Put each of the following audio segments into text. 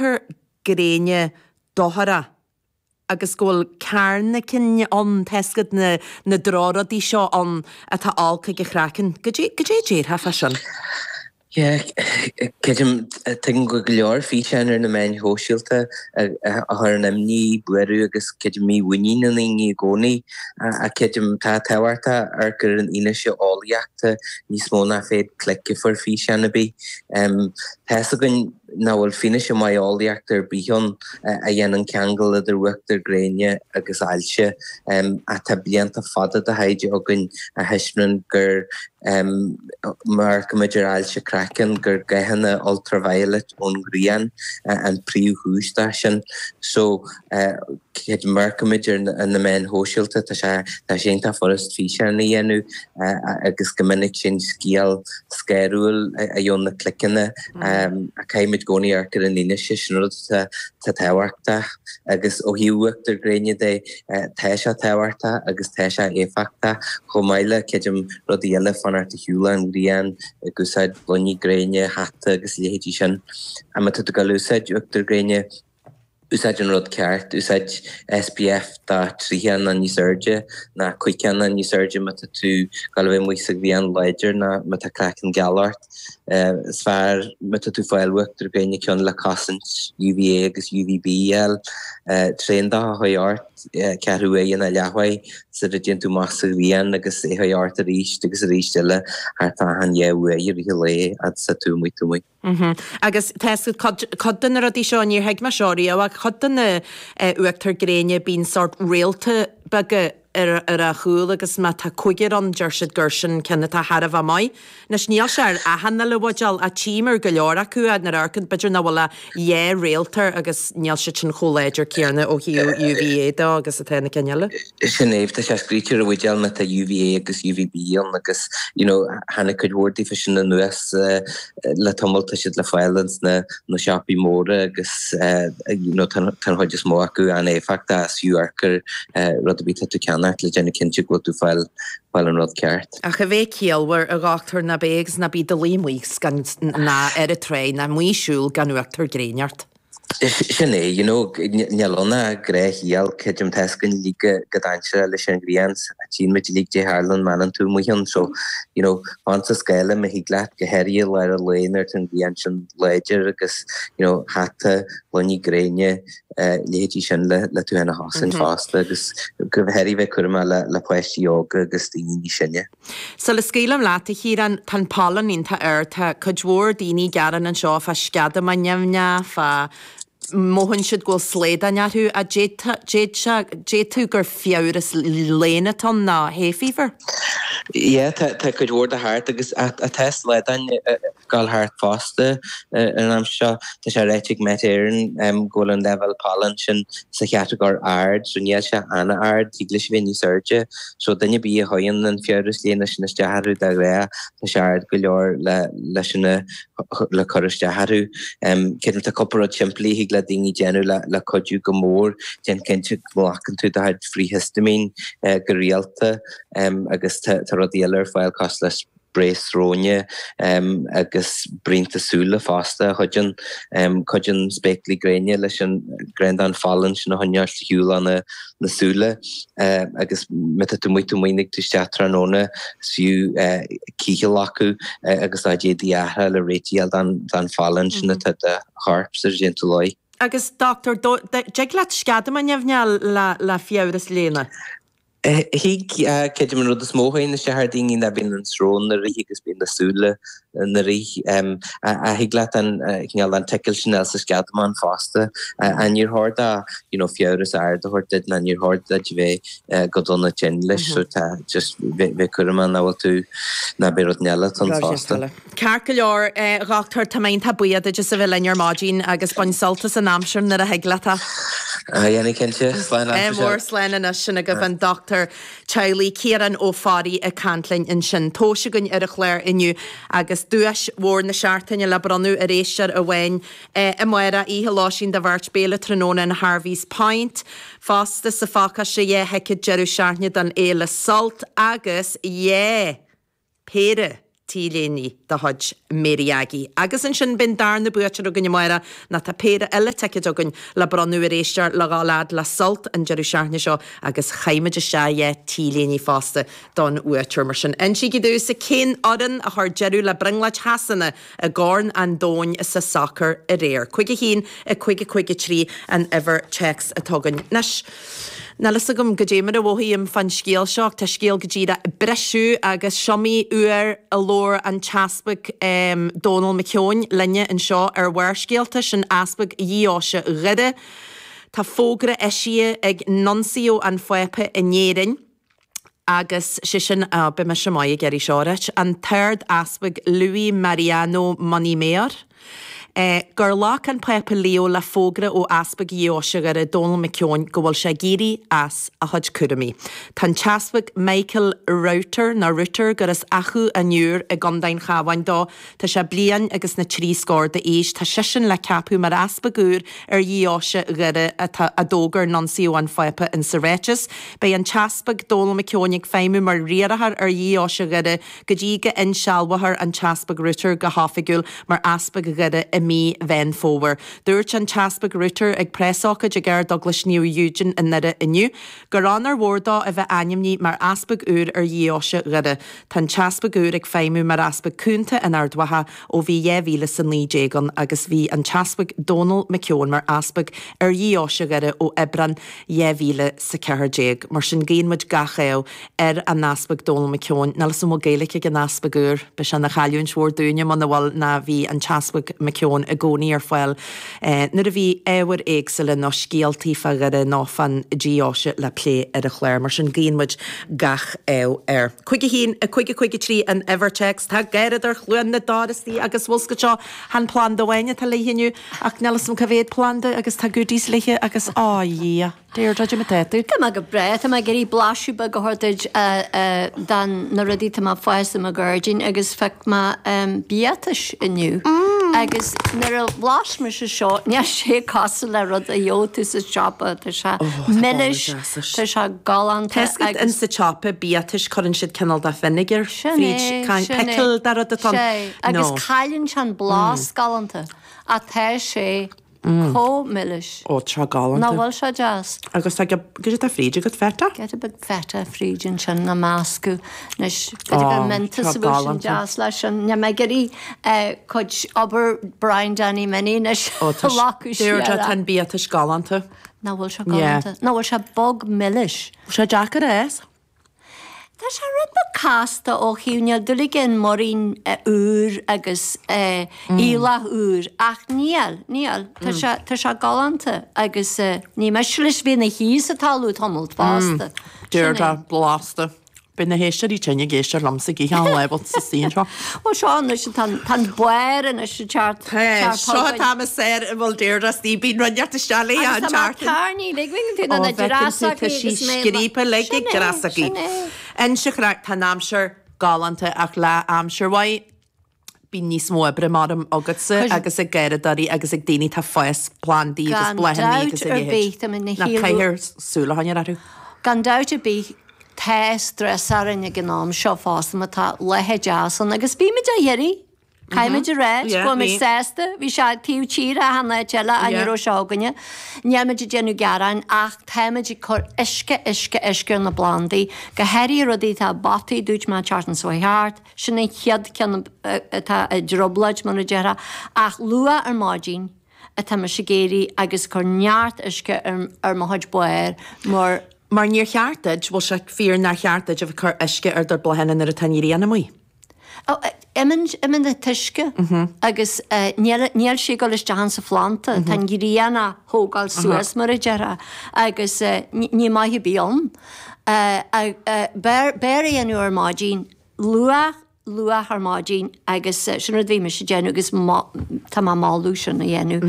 uachtar gréine dochrach agus go bhfuil carnacin ann, tá 'fhios agat na na drochrudaí seo ann atá olc ag an chraiceann. Goidé goidé a déarfá fá sin? Yeah, creidim, tuigim go bhfuil go leor físeáin ar na meáin shóisialta a chuireann imní, buaireamh agus creidim mímhuinín i ndaoine i gcónaí. Ach creidim, tá tábhachtach amharc ar an fhianaise eolaíochta níos mó ná féad clic a fuair físeán ar bith. Tá 'fhios againn nach bhfuil fianaise maith eolaíochta ar bith ann a dhéanann ceangal idir uachtar gréine agus ailse. Ach tá blianta fada de thaighde againn a thaispeánann gur, má amharcaimid ar ailse craicinn, gur gathanna ultraviolet ón ghrian an príomhchúis dó sin. So, má amharcaimid ar na meáin shóisialta, tá sé tá sé iontach furast físeán a dhéanamh agus go minic sin scéal scanrúil a gheobhann na cliceanna. Ach caithfimid i gcónaí amharc ar an fhianaise, sin rud atá tábhachtach. Agus ó thaobh uachtar gréine de, tá sé tábhachtach agus tá sé éifeachtach, chomh maith le, creidim, rudaí eile, fanacht ar shiúl ón ghrian, ag úsáid gloiní gréine, hata agus a leithéidí sin. Má tá tú ag dul a úsáid uachtar gréine, Úsáid an rud ceart, úsáid SPF dath 30 nó níos airde, nó 50 nó níos airde má tá tú ag dul a bheith amuigh sa ghrian láidir nó má tá craiceann geal ort. Is fearr má tá tú ag fáil uachtar gréine ceann le cosaint UVA agus UVB a fháil. Tréandath a chur ort, ceathrú uaire nó leathuair sula dtéann tú amach sa ghrian agus é a chur ort arís agus arís eile thart fá achan dhá uair i rith an lae fhad is atá tú amuigh amuigh. Agus tá 'fhios agat, cuid de na rudaí seo, níor thuig mé seo riamh, ach cuid de na uachtar gréine bíonn sórt réalta beaga ar ar a chúl agus má tá cúigear ann deir siad gur sin ceann atá thar a bheith maith. Anois níl sé ar achan uile bhuidéal ach tchím ar go leor acu nuair a amharcann b'fhéidir nach bhfuil ach dhá réalt air agus níl siad sin chomh láidir céanna ó thaobh UVA de agus atá na cinn eile. Sin é, tá sé scríte ar an bhuidéal má tá UVA agus UVB ann agus you know tháinig cuid mhór daofa sin anuas le tamall, tá siad le fáil ins na na siopaí móra agus you know tá an chuid is mó acu an-éifeachtach is fiú amharc ar rud ar bith atá tú ag ceannacht le déanamh cinnte go bhfuil tú fáil fáil an rud ceart. Ach a bheith ciallmhar, a dhochtúir, ná bí agus ná bí i do luí amuigh gan ná ar an tráigh ná amuigh ag siúl gan uachtar gréine ort. Sin é, you know, níl ann ach gnáthshaol, creidim, tá 'fhios againn uilig go dainséarach leis an ghrian, tchíonn muid uilig goidé a tharlaíonn má fhanann tú amuigh ann, so, you know, fan sa scáile má thig leat, go háirithe i lár an lae nuair atá an ghrian sin láidir agus, you know, hata, gloiní gréine, leithéidí sin le le tú féin a chosaint fosta agus go háirithe bheith cúramach le le páistí óga agus daoine níos sine. Sula scaoilim leat, a Chiaráin, tá an pollen iontach ard. Tá cuid mhór daoine ag gearán anseo fá sceadamáin nimhneach, fá mothaíonn siad go bhfuil slaodáin orthu. Ach d'fhéadfadh gur fiabhras léana atá ann ná hay fever? Yeah, tá cuid mhór de thart agus tá slaodáin gabháil thart fosta ar an am seo. Tá sé ráite ag Met Éireann go bhfuil an leibhéal pollen sin sa chatagóir ard, so níl sé an-ard, thig leis a bheith níos airde. So duine ar bith a chuireann an fiabhras léana sin isteach orthu de ghnáth, tá sé ard go leor le leis sin le cur isteach orthu. Creidim tá cúpla rud simplí a thig le daoine déanamh le le cuidiú go mór. Déan cinnte go nglacann tú do chuid frithhistaimín go rialta agus tá rudaí eile ar fáil cosúil le sprae sróine agus braonta súile fosta a chuidíonn. Cuidíonn spéaclaí gréine leis an greandán phollen sin a choinneáil ar shiúl ó na súile agus má tá tú amuigh taobh amuigh ag tú isteach tráthnóna is fiú cith a ghlacadh agus do chuid éadaí a athrá le réiteach a fháil don phollen sin atá i do chorp sula dtéann tú a luí. Agus doctor, dtig leat sceadamán nimhneach a fháil le fiabhras léana? Thig, creidim an rud is mó a théann isteach ar daoine ná bíonn an srón ina rith agus bíonn na súile ina rith. Ach thig leat an cineál an tickle sin a fháil sa sceadamán fosta. Ach níor chóir do you know fiabhras ard a thabhairt duit ná níor chóir duit a bheith go dona tinn leis so tá just bheith cúramach nach bhfuil tú ná beidh rud eile ann fosta. Ceart go leor, a dhochtúir, tá mé iontach buíoch duit as a bheith linn ar maidin agus bain sult as an aimsir nuair a thig leat é. Dhéanfaidh cinnte. Slán leat, Ádh mór, slán anois. Sin agaibh an Dochtúir Teaghlaigh Ciarán Ó Fearraigh ag caint linn ansin. Tomhais againn ar an chlár inniu agus duais mhór na seachtaine le bronnadh ar éisteoir amháin amárach, oíche lóistín do bheirt, béile tráthnóna in Harvey's Point. Fosta sa phacáiste 2 thicéad deireadh seachtaine don Fhéile Sult agus yeah! péire. T-léine de chuid Mary Aggie. Agus ansin beidh an darna buaiteoir againn amárach nó tá péire eile ticéid againn le bronnadh ar éisteoir le dhul fhad le Sult an deireadh seachtaine seo agus caithfimid isteach 2 T-léine fosta don bhuaiteoir. Mar sin, insígí domhsa cén fhoireann a chuir deireadh le brionglóid Shasana i gCorn an Domhain sa sacar aréir. 5 1 5 5 3 an uimhir téacs atá againn. Anois, níl fhios agam goidé mar a mhothaím fán scéal seo ach tá scéal go díreach ag briseadh agus s'iomaí uair a labhair an tEaspag Dónal McKeown linne anseo ar Bharrscéalta, sin Easpag Dheoise Dhoire. Tá fógra eisithe ag Nuncio an Phápa in Éirinn, agus sé sin, á, beidh mise maith ag iarraidh seo a ráit, an tArd-Easpag Luis Mariano Montemayor, gur ghlac an Pápa Leo le fógra ó Easpag Dheoise Dhoire, Dónal McKeown, go bhfuil sé ag éirí as a chuid cúraimí. Tá an tEaspag Michael Router, nó Rutter, gur as Achadh an Iúir i gContae an Chabháin dó, Tá sé bliain agus na trí scór d'aois. Tá seisean le ceapadh mar easpag úr ar Dheoise Dhoire atá, a d'fhógair Nuncio an Phápa in sa ráiteas. Beidh an tEaspag Dónal McKeown ag feidhmiú mar riarthóir ar Dheoise Dhoire go dtí go insealbhófar an tEaspag Rutter go hoifigiúil mar Easpag Dhoire i mí Mheán Fómhair. Dúirt an tEaspag Rutter ag preasócáid ag Ardeaglais Naomh Eugene i nDoire inniu gur onóir mhór dó a bheith ainmnithe mar Easpag úr ar Dheoise Dhoire. Tá an tEaspag úr ag feidhmiú mar Easpag Cúnta in Ard Mhacha ó bhí 2019 ann agus bhí an tEaspag Dónal McKeown mar Easpag ar Dheoise Dhoire ó Aibreán 2014. Mar sin guíonn muid gach ádh ar an Easpag Dónal McKeown. Níl 'fhios a'm an bhfuil Gaeilge ag an Easpag úr. Beidh sé ina chailliúint mhór dúinne muna bhfuil ná bhí an tEaspag McKeown i gcónaí ar fáil nuair a bhí ábhair éagsúla nó scéaltaí fá Dhoire nó fán deoise le plé ar an chlár. Mar sin guíonn muid gach ádh air. 5 1 5 5 3 an uimhir téacs. Tá Garradóir Chluain na dTor istigh agus bhfuil 's agat seo chan planda amháin atá léithe inniu ach níl 'fhios a'm cá mhéad planda agus tá goodies léithe agus á Dhia! Deirdre, cad é mar atá tú? Tá mé go breá. Tá mé ag iarraidh blaiseadh beag a thabhairt duit de na rudaí atá mé ag fás i mo ghairdín agus phioc mé biatais inniu. Agus nuair a bhlais mise seo, níl sé cosúil le rud a gheobhaidh tú sa siopa. Tá sé milis, tá sé galánta agus. Tá 's agat in sa tsiopa biatais cuireann siad cineál de vinegar fríd, pickle de rud atá ann. Sin é. Agus cailleann sé an blas galánta. Ach tá sé. Chomh milis. Ó, tá galánta. Nach bhfuil sé deas? Agus tá goidé atá fríd agat, feta? Giota beag feta fríd ansin á meascadh. Anois, b'fhéidir gur Mentos a bheadh sin deas leis sin. Níl mé ag iarraidh cuid obair Brian Danny Minnie anois a ghlacadh siar. Deirdre, tá an biatais galánta. Nach bhfuil sé galánta? Nach bhfuil sé bog milis? Bhfuil sé deacair a fhás? Tá sé rud beag casta ó thaobh, níl dúil aige in muirín úr agus aoileach úr ach níl, níl. Tá sé, tá sé galánta agus ní miste leis bheith ina shuí sa talamh tamalt fosta. Deirdre, blasta. Beidh na héisteoirí tinn ag éisteacht liomsa ag ithe an lámh sa saol seo. Bhuel seo anois, tá an barr anois ag teacht, teacht Seo chugainn. atá mé saor i bhfuil Deirdre istigh, bíonn rud inteacht isteach léi an Agus tá mé teacht. tairní, lig mé tú na Ó, feiceann tú, dreasachaí tá sí agus mé scríofa lig Sin ag é, dreasachaí. sin é. Inse chraic, tá an aimsir galánta ach le aimsir mhaith bíonn níos mó oibre maram agatsa Cuir- agus ag garradóirí agus ag daoine atá ag fás plandaí agus Gan bláthanna dabht agus a ar leithéid. bith, tá mé ina Ná shíl- caithfear súil a choinneáil orthu. Gan dabht ar bith, tá strus orainn ag an am seo fosta má tá laethe deas ann agus bímid á iarraidh. Caithfimid a rá, Yeah, go bhfuil muid bhí. sásta, bhí sé taobh tíre achan áit eile ach ní Yeah. raibh sé againne. Níl muid ag déanamh gearáin ach táimid ag cur uisce, uisce, uisce ar na plandaí, go háirithe rudaí atá i bpotaí, dúirt mé an tseachtain seo thart, sin an chéad ceann atá i dtrioblóid mar a déarfá, ach luath ar maidin atá mise ag éirí agus ag cur neart uisce ar ar mo chuid barr mar. Mar níor cheart duit, bhfuil sé fíor nár cheart duit a bheith ag cur uisce ar do bhláthanna nuair atá an ghrian amuigh? Imíonn an t-uisce agus níl níl sé ag dul isteach insa phlanda, tá an ghrian á thógáil suas mar a déarfá agus ní maith ar bith ann. B'fhearr é a dhéanamh ar maidin, luath, luath ar maidin agus sin rud a bhí mise ag déanamh agus tá mé ag moladh sin a dhéanamh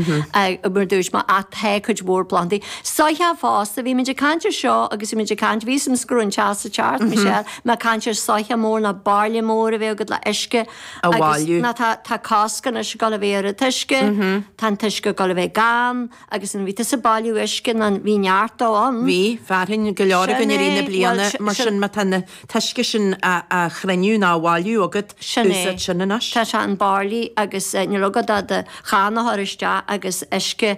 mar dúirt mé ach tá cuid mhór plandaí. Soitheach fosta, bhí muid ag caint ar seo agus bhí muid ag caint, bhí a fhios agam go raibh an teas ag teacht, Michelle, mé ag caint ar soitheach mór nó bairille mór a bheith agat le uisce A bhailiú. Agus ná tá tá cosc anois ag dul a bheith ar an t-uisce, tá an t-uisce ag dul a bheith gann agus an bhí tusa ag bailiú uisce nó bhí neart dó ann. Bhí, fearthainn go leor Sin againn i rith na é, bliana bhuel mar sin sin má tá an t-uisce sin á chruinniú nó á bhailiú. fuinneamh agat, Sin é. úsáid sin anois. Tá sé an barley agus níl agat ach do channa a chur isteach agus uisce.